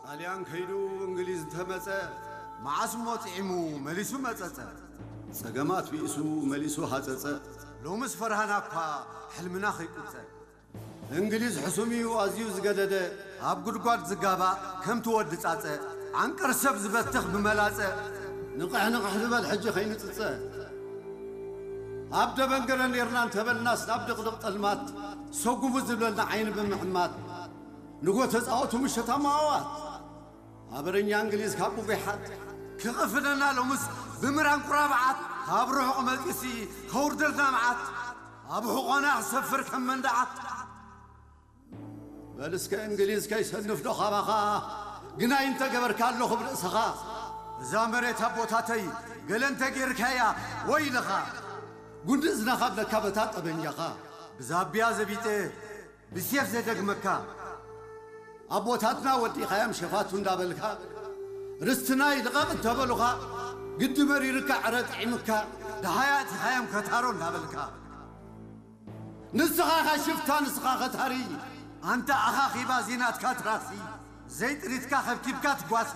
ጣልያን ከይዱ እንግሊዝ እንተመጸ፣ መዓስ እሞ ጥዒሙ መሊሱ መጸጸ። ጸገማት ቢእሱ መሊሱ ሃጸጸ። ሎምስ ፈርሃና እኳ ሕልምና ከይቁጸ። እንግሊዝ ሕሱም እዩ ኣዝዩ ዝገደደ፣ ኣብ ጉድጓድ ዝጋባእ ከምቲ ወዲ ጻጸ። ዓንቀር ሰብ ዝበትኽ ብመላጸ። ንቕሕ ንቕሕ ዝበል ሕጂ ከይንጽጸ። ኣብ ደበንገረ ኔርና እንተበልናስ ናብ ድቕድቕ ጠልማት፣ ሰጉሙ ዝብለልና ዓይኒ ብምሕማት። ንጎ ተጻወቱ ምሸት ኣማዋት። ኣበረኛ እንግሊዝ ካብ ጉጉይ ሓት። ክቕፍደና ሎምስ ብምራን ቁራብዓት። ካብ ርሑቕ መጺሲ ከውርደልና መዓት። ኣብ ሕቖና ክሰፍር ከም መንደዓት። በል እስከ እንግሊዝ ከይሰንፍ ዶ ካባኻ? ግናይ እንተገበርካ ኣለኹ ብርእስኻ። እዛ መሬት ኣቦታተይ ገለ እንተጌርካያ ወይልኻ። ጉንዲ እዝና ካብ ለካ በታ ጠበንጃኻ። ብዛብያ ዘቢጠ ብሴፍ ዘደግመካ። ኣቦታትና ወዲኻዮም ሸፋቱ እንዳበልካ፣ ርስትናይ ልቐቕ እንተበሉኻ፣ ግዲ መሪርካ ዕረ ጥዒምካ፣ ደሃያ ኣእቲኻዮም ከታሮ እንዳበልካ። ንስኻ ኻ ሽፍታ፣ ንስኻ ኸታሪ። ኣንታ ኣኻኺባ ዚናትካ ትራሲ፣ ዘይጥሪትካ ኸብኪብካ ትጓሲ።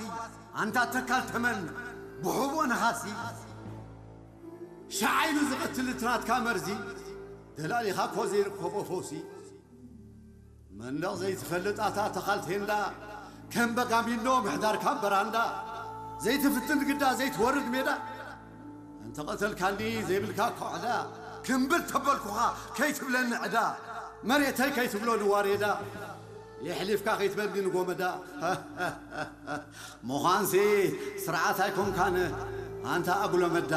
ኣንታ ተካል ተመን ብሕቦ ነኻሲ። ሸዓይኑ ዝቐትል እቲ ናትካ መርዚ፣ ደላሊኻ እኮ ዘይርከቦ ፈውሲ። መንደቕ ዘይትፈልጥ ኣታ ተኻል ቴንዳ፣ ከም በጋሚኖ ምሕዳርካ በራንዳ። ዘይትፍትን ግዳ ዘይትወርድ ሜዳ፣ እንተቐተልካኒ ዘይብልካ እኮ ዕዳ። ክምብል ተበልኩኻ ከይትብለኒ ዕዳ፣ መሬተይ ከይትብሎ ንዋሬዳ። የሕሊፍካ ከይትበልኒ ንጎመዳ። ምዃንሲ ስርዓት ኣይኮንካን ኣንታ ኣጉሎ መዳ።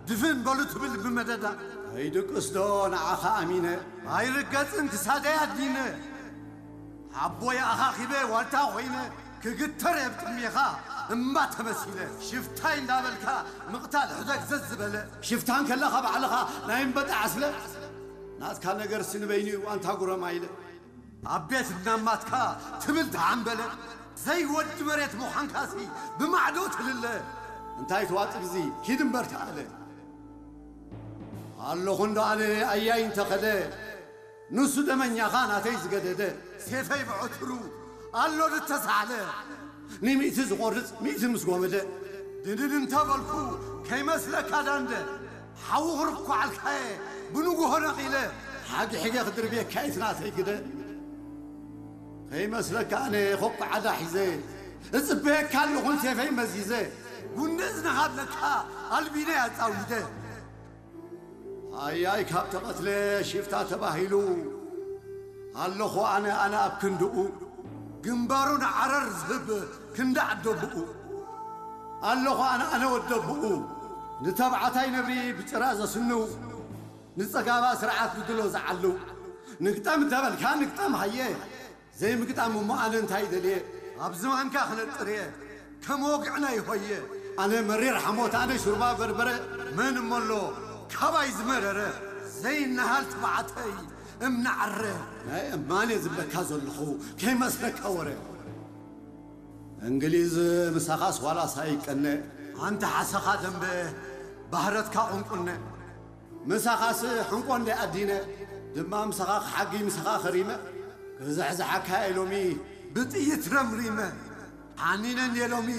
ድፍን በሉ ትብል ብመደዳ። ከይድቅስ ዶ ንዓኻ ኣሚነ? ኣይርገጽን ክሳደይ ኣዲነ። ሓቦይ ኣኻኺበ ዋልታ ኮይነ። ክግተር እየ ብጥሜኻ እምባ ተመሲለ። ሽፍታይ እንዳበልካ ምቕታል ሕደግ ዘዝበለ። ሽፍታ እንከለኻ ባዕልኻ ናይ እምበጣ ዓስለ። ናትካ ነገርሲ ንበይኑ እዩ ኣንታ ጉረማይለ። ኣብ ቤት እናማትካ ትብል ተዓምበለ። ዘይወዲ መሬት ምዃንካሲ ብማዕዶ ትልለ። እንታይ ትዋጥብ እዚ ኪድ እምበር ተኣለ። ኣለኹ እንዶ ኣነ ኣያይ እንተኸደ፣ ንሱ ደመኛኻ ናተይ ዝገደደ። ሴፈይ ብዕትሩ ኣሎ ዝተሳዕለ። ንሚእቲ ዝቖርጽ ሚእቲ ምስ ጎመደ። ድንን እንተበልኩ ከይመስለካ ዳንደ። ሓዊ ክርኳዓልካየ ብንጉሆ ነቒለ። ሓጊ ሒገ ክድርብየካ እቲ ናተይ ግደ። ከይመስለካ ኣነ ኾኩ ዓዳ ሒዘ። እጽበየካ ኣለኹን ሴፈይ መዚዘ። ጉንዲ እዝንኻ ኣለካ ኣልቢነ ኣጻዊደ። ኣያይ ካብ ተቐትለ ሽፍታ ተባሂሉ። ኣለኹ ኣነ ኣነ ኣብ ክንድኡ። ግንባሩ ንዓረር ዝህብ ክንዲ ዓደብኡ። ኣለኹ ኣነ ኣነ ወደብኡ። ንተባዕታይ ነብሪ ብጭራ ዘስንው። ንጸጋባ ስርዓት ብድሎ ዝዓልው። ንግጠም እንተበልካ ንግጠም ሃየ። ዘይምግጣም እሞ ኣነ እንታይ ደልየ? ኣብ ዝባንካ ክነጥር እየ ከም ወግዕና ይኾየ። ኣነ መሪር ሓሞት ኣነ ሹርባ በርበረ። መን እሞ ኣሎ ካባይ ዝመረረ? ዘይነሃል ትባዕተይ እምኒ ዓረ። ናይ እማን እየ ዝብለካ ዘለኹ ከይመስለካ ወረ። እንግሊዝ ምሳኻስ ዋላስ ኣይቀነ። ኣንታ ሓሰኻ ደንበ ባህረትካ ቁንቁነ። ምሳኻስ ሕንቆ እንደ ኣዲነ ድማ ምሳኻ ክሓጊ ምሳኻ ከሪመ። ክዝሕዝሓካ እየ ሎሚ ብጥይት ረምሪመ። ሓኒነ እንደ ሎሚ